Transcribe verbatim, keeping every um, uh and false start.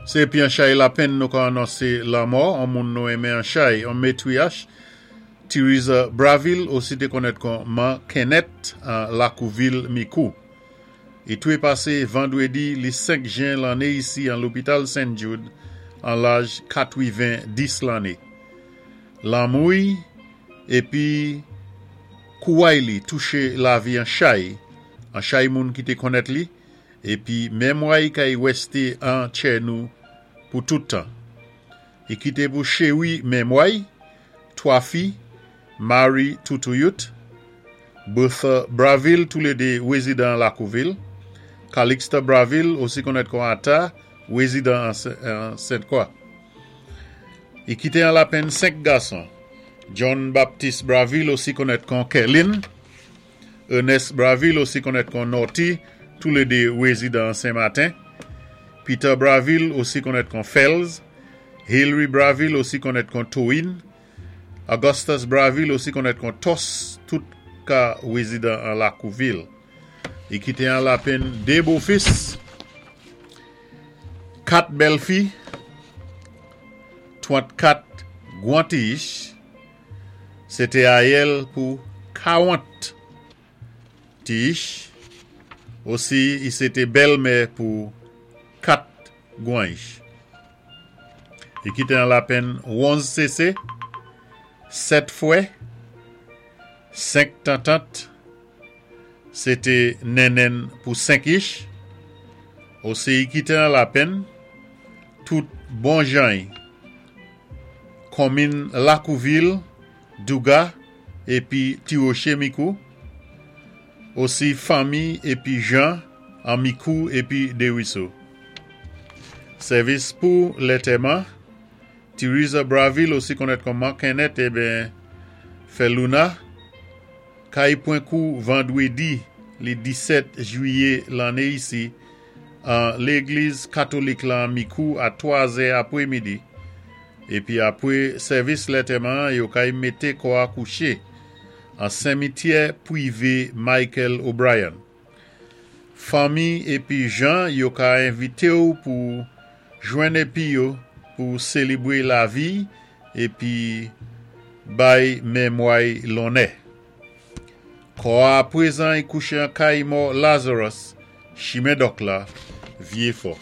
Sé épi an chay lapenn nou ka anonsé lanmò, an moun nou enmen an chay, an matriarch, Theresa Braville, osi té konnèt kon Man Kenneth an Lakouvil Micoud. I touwé pasé vandwédi li senk jen lanné isi an lopital Saint Jude an laj katwiven-dis lanné. Lanmou-y épi kouway li touché lavi an chay, an chay moun ki té konnèt li, épi memwa-y kay wèsté an tjè nou pou tout tan. I kité pou chéwi memwa-y, twa fi, Marie Toutouyut, Bertha Braville, toulédé wézidan Lakouvil, Calixta Braville, osi konnèt kon Ata, wézidan an Sainte-Croix. I kité an lapenn senk gason, John Baptiste Braville, osi konnèt kon Kerlin, Ernest Braville, osi konnèt kon Norty, toulédé wézidan Saint-Martin, Peter Braville, osi konnèt kon Fels, Hillary Braville, osi konnèt kon Toin, Augustus Braville, osi konnèt kon Tos, tout ka wézidan an Lakouvil. I kité an lapenn dé bofis, kat bèlfi, twant-kat gwan ti-ich, sé té ayèl pou kawant ti-ich, osi i sé té bèlmè pou kat gwan ich. I kité an lapenn onz sésé, sèt fwè, senk tantant, sé té nennenn pou senk ich, osi i kité an lapenn tout bon jan-y, konminn Lakouvil, Douga, épi Ti Woché Micoud, osi fanmi épi jan an Micoud épi Desruisseaux. Sèvis pou lantèman, Theresa Braville, osi konnèt kon Man Kenneth, eben, fè Luna, kay pwan kou vandwédi li disèt jwiyé lanné isi an légliz katolik lan Micoud a twa zè apwémidi. Épi apwé sèvis lantèman, yo kay mété kò a kouché an simityè pwivé Michael O'Brien. Fanmi épi jan yo ka envité ou pou jwenn épi yo pou sélébwé lavi épi bay memwa-y lonnè. Kò a apwézan i kouché an kay mò Lazarus, Chimen Dòk la, Vyé Fò.